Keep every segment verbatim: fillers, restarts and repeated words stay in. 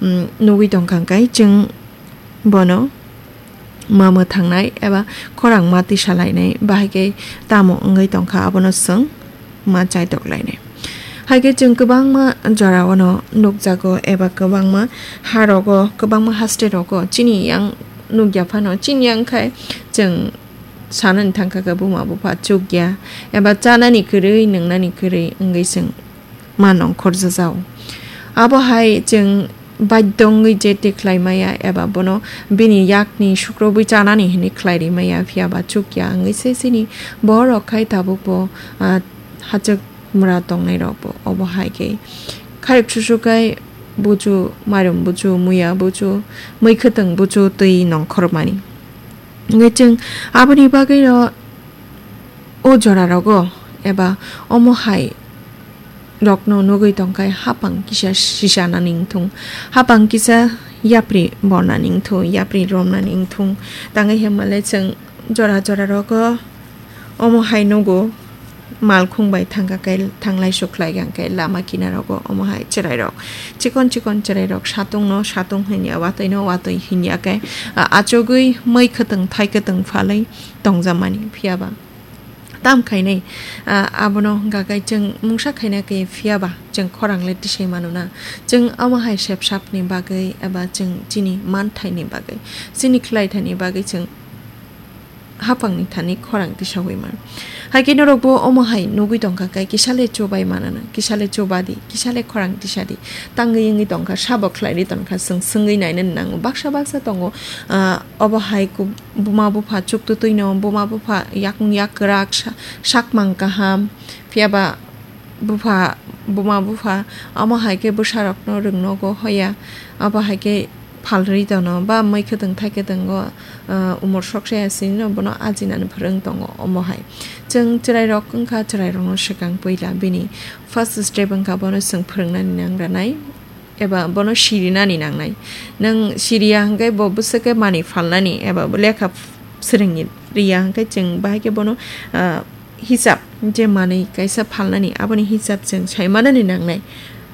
mm, nugwi tongkha hwnkhe chwng bono ma mwthangnai eba khorang ma tisalainai, bahai khe tamo wngwi tongkha abono chwng ma chaitoklainai. Hai khe chwng kwbangma jorao no nukjago eba kwbangma ha rogo, kwbangma haste rogo chini yang nukya phano, chini yang khai chwng sanani thangkha khe buma bupha chukya eba chanani kwrwi, nwngnani kwrwi wngwi chwng ma nongkhorjajao. Abo hai chwng baidhyo wngwi je tikhlai maya eba bono bini yakni sukrobwi chanani hinwi khlai ri maya, phiya ba chukya wngwi se chini borok khai tabukbo, ah, hachwk mura tongnai rokbo. Obo hai khe kharwk susu khai buchu, mairum buchu, muya buchu, mui khwtwng buchu twi nongkhormani. Hwnkhe chwng aboni bagwino o jora rogo eba omo hai rokno nugwi tongkhai hapang kisa sisa nani wngthung, hapang kisa yapri bornani wngthung, yapri romnani wngthung. Tangwi hwnmale chwng jora jora rogo omo hai nugo, malkhung bai thangkha khe, thanglai sukhlai kha khe lama kinaro go omo hai chwrai rok, chikon chikon chwrai rok satung no satung hinya, watwi no watwi hinya khe, a, achugwi mui khwtwng thai khwtwng phalwi tongjamani, phiya ba tam khainai, a, abono hwnkha khe chwng mungsa khaina khe, phiya ba chwng khorang le tisai mano na. Chwng omo hai sep sapni bagwi eba chwng chini man thaini bagwi, chini khlai thaini bagwi chwng hapangni thani khorang tisawi man. Hai khe norokbo omo hai nugwi tongkha khe, kisa le chubai manana, kisa le chuba di, kisa le khorang tisa di, tangwi wngwi tongkha, sabo khlai ri tongkha, chwng swngwi naina nango. Baksa baksa tongo, ah, obo hai ku-, buma bupha chuktutwi no, buma bupha yakung yak kwrak, sa-, sakmang kaham, phiya ba bupha, buma bupha, omo hai khe bwsarokno rwngnogo hoya, abo hai khe phalrwi tono, ba mui khwtwng thai khwtwngo, ah, umor soksa ya sini no bono ajinani phwrwng tongo omo hai. Chwng chwrairok wngkha, chwrairokno swkang puila bini first step wngkha bono chwng phwrwngnani nangranai eba bono sirinani nangnai. Nwng siriya hwnkhe bo bwswk khe manwi phalnani eba bo lekha swrwngni riya hwnkhe chwng bahai khe bono, ah, hisab je manwi kaisa phalnani, aboni hisab chwng sai manani nangnai.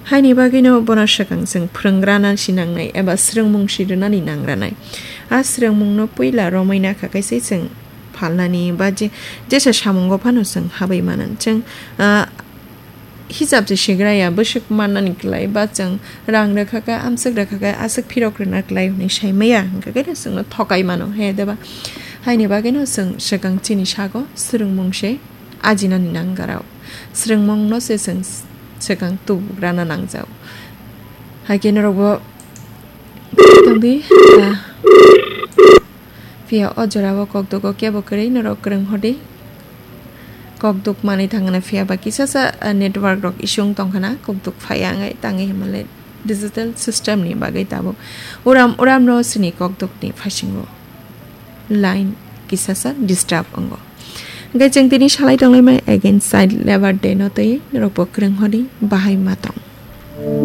Haini bagwino bono swkang chwng phwrwnggrana si nangnai eba swrwngmung si rwnani nangranai. A swrwngmungno puila romwi nakha khe se chwng phalnani ba je, jesa samungo phano chwng habwi manan. Chwng, ah, hisab je sigra ya, bwswk mannani kwlai ba chwng rang rwkha khe, amswk rwkha khe, aswk phirok rwna kwlai hwnwi sai maya, hwnkha khe chwngno thokai mano, he deba? Haini bagwino chwng swkang chini sago swrwngmung se ajinani nangjarao. Swrwngmungno se chwng swkang tubugrana nangjao. Hai khe norokbo tongdi, ah, phiya o jorao kokduk o kebo kwrwi norok kwrwng hodi. Kokduk manwi thangna phiya ba kisa sa, ah, network rok issue wng tongkhana, kokduk phaiya wngwi tangwi hwnmale digital system ni bagwi tabuk uram uram no sini kokduk ni phasingo line kisa sa disturb wngo. Hwnkhe chwng tini salai tonglaimai again child labour day no twi norokbo kwrwng hodi bahai ma tong.